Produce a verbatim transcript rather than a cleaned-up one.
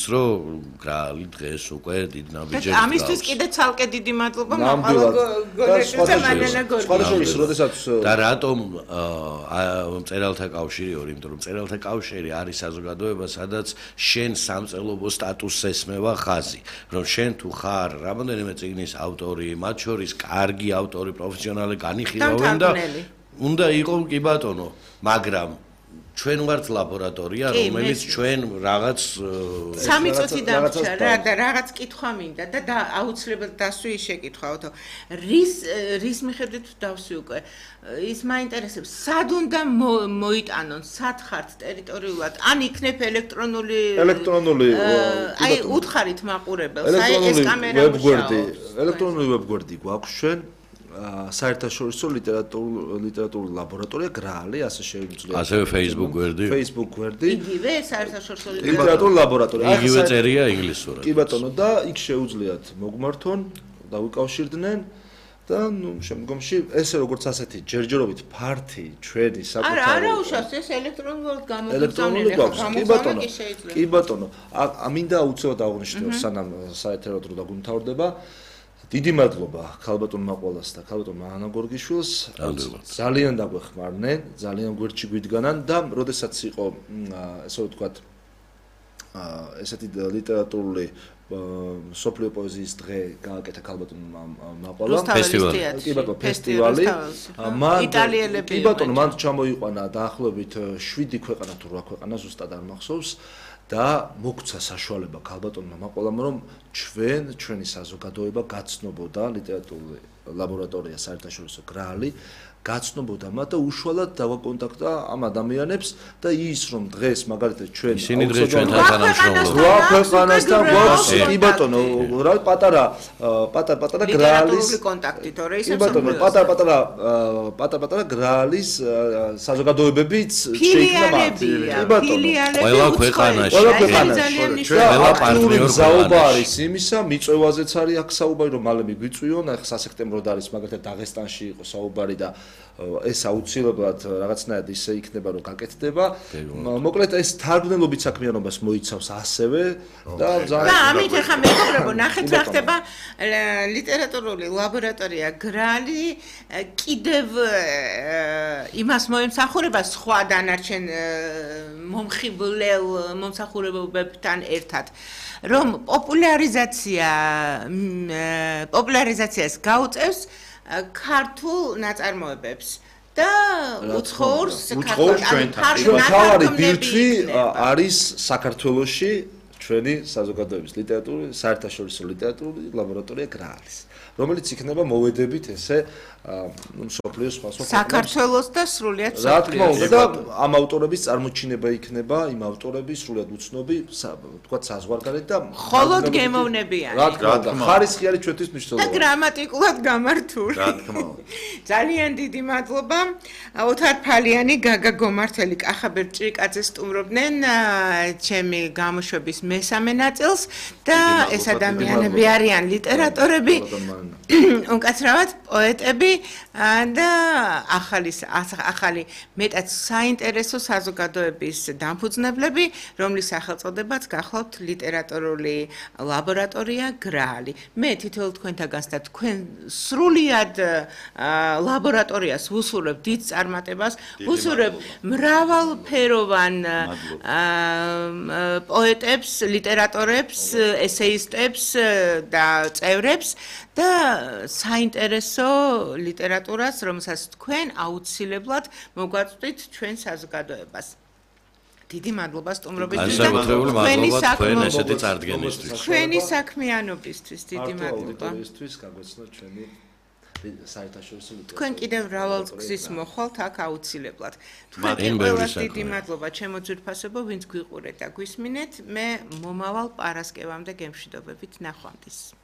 იცის რომ გრალი დღეს უკვე დიდი ნაბიჯები ამისთვის კიდე ცალკე დიდი მადლობა მაყალა გოლეშვილს მანანა გორგიშვილს როდესაც და რატომ მწერალთა კავშირი ორი იმიტომ რომ მწერალთა კავშირი არის საზოგადოება სადაც შენ სამწერლობო სტატუსს ესმევა ხაზი რომ შენ თუ ხარ რამოდენიმე წიგნის ავტორი მათ შორის კარგი ავტორი პროფესიონალი განიხილავენ და უნდა იყოს კი ბატონო მაგრამ ჩვენ ვართ ლაბორატორია რომელიც ჩვენ რაღაც სამი წუთი დამრჩა რა და რაღაც კითხვა მინდა და აუცილებლად დასვი შეკითხვაოთო რის რის მიხედვით დავსვი უკვე ის მაინტერესებს სად უნდა მოიტანონ სად ხართ ტერიტორიულად ან იქნებ ელექტრონული ელექტრონული აი უთხარით მაყურებელს აი ეს კამერა ვებგვერდი ელექტრონული ვებგვერდი გვაქვს ჩვენ საერთაშორისო ლიტერატურული ლაბორატორია გრალი ასე შეგვიძლია ასევე Facebook გვერდი Facebook გვერდი იგივე საერთაშორისო ლიტერატურული ლაბორატორია იგივე წერია ინგლისურად კი ბატონო და იქ შეუძლიათ მოგმართონ და ვიკავშირდნენ და ნუ შემდგომში ესე როგორც ասეთი ჯერჯერობით ფართი ჩვენი საკუთარი არა არა უშავს ეს ელექტრონულად ელექტრონული გვაქვს კი ბატონო კი ბატონო ამინდა უცებად აღნიშნო სანამ საეთერო დრო დაგუმთავრდება დიდი მადლობა ქალბატონ მაყვალას და ქალბატონ მანანა გორგიშვილს ძალიან დაგვეხმარნენ ძალიან გვერდში გვიდგანან და როდესაც იყო ესე ვთქვათ ესეთი ლიტერატურული სოფლიო პოეზიის დღე გააკეთა ქალბატონ მაყვალამ ფესტივალი კი ბატონო ფესტივალი იტალიელები კი ბატონო მან ჩამოიყვანა დაახლოებით შვიდი ქვეყანა თუ რვა ქვეყანა ზუსტად არ მახსოვს და მოგცა საშუალება ქალბატონმა მაყვალამ რომ ჩვენ ჩვენი საზოგადოება გაცნობოდა ლიტერატურული ლაბორატორია საერთაშორისო გრალი გაცნობოდა მათ და უშუალოდ დავაკონტაქტა ამ ადამიანებს და ის რომ დღეს მაგალითად ჩვენ ისინი დღეს ჩვენთან თანამშრომლობენ რა ქვეყანასთან გვაქვს კი ბატონო რა პატარა პატარა პატარა გრალის კონტაქტი თორე ისე ბატონო პატარა პატარა პატარა პატარა გრალის საზოგადოებებიც შეიქმნა მათ კი ბატონო ყველა ქვეყანაში ყველა ქვეყანაში ყველა პარტნიორ საუბარი არის იმისა მიწვევაზეც არის აქ საუბარი რომ მალე მიგვიწვიონ ახლა სასექტემბროდ არის მაგალითად დაღესტანში იყო საუბარი და ეს აუცილებლად რაღაცნაირად ისე იქნება რომ გაკეთდება მოკლედ ეს თარგმნელობით საქმიანობას მოიცავს ასევე და ძალიან ამით ახლა მეგობრებო ნახეთ რა ხდება ლიტერატურული ლაბორატორია გრალი კიდევ იმას მოემსახურება სხვა დანარჩენ მომხიბლელ მომსახურებებთან ერთად რომ პოპულარიზაცია პოპულარიზაციას გაუწევს ქართულ ნაწარმოებებს და უცხოურ თავარი ბირთვი არის საქართველოში ჩვენი საზოგადოების ლიტერატურული საერთაშორისო ლიტერატურული ლაბორატორია გრალის რომელიც იქნება მოვედებით ესე მსოფლიოს სხვა სხვა საქართველოს და სრულიად რა თქმა უნდა და ამ ავტორების წარმოჩინება იქნება იმ ავტორების სრულიად უცნობი თქვა საზღვარგარეთ და მხოლოდ გემოვნებიანი რა თქმა უნდა ხარისხი არის ჩვენთვის მნიშვნელოვანი და გრამატიკულად გამართული რა თქმა უნდა ძალიან დიდი მადლობა ოთარ ფალიანი გაგა გომართელი კახაბერ ჭრიკაძე სტუმრობდნენ ჩემი გამოშვების მესამე ნაწილს და ეს ადამიანები არიან ლიტერატორები უკაცრავად პოეტები და ახალი ახალი მეტად საინტერესო საზოგადოების დამფუძნებლები, რომლის სახელწოდებაც გახლავთ ლიტერატურული ლაბორატორია გრალი. მე თითოეულ თქვენთაგანს და თქვენ სრულიად ლაბორატორიას ვუსურებ დიდ წარმატებას, ვუსურებ მრავალფეროვან პოეტებს, ლიტერატორებს, ესეისტებს და წევრებს და საინტერესო ლიტერატურას, რომელსაც თქვენ აუცილებლად მოგვაწვდით ჩვენ საზოგადოებას. დიდი მადლობა სტუმრობისთვის და თქვენი საქმე ესეთი წარდგენისთვის. თქვენი საქმიანობისთვის დიდი მადლობა. ის გაგვეცნო ჩვენი საერთაშორისო ლიტერატურა. თქვენ კიდევ მრავალგზის მოხვალთ აქ აუცილებლად. თქვენ ყველას დიდი მადლობა ჩემო ძვირფასებო, ვინც გვიყურეთ და გვისმინეთ. მე მომავალ პარასკევამდე გემშვიდობებით ნახვამდის.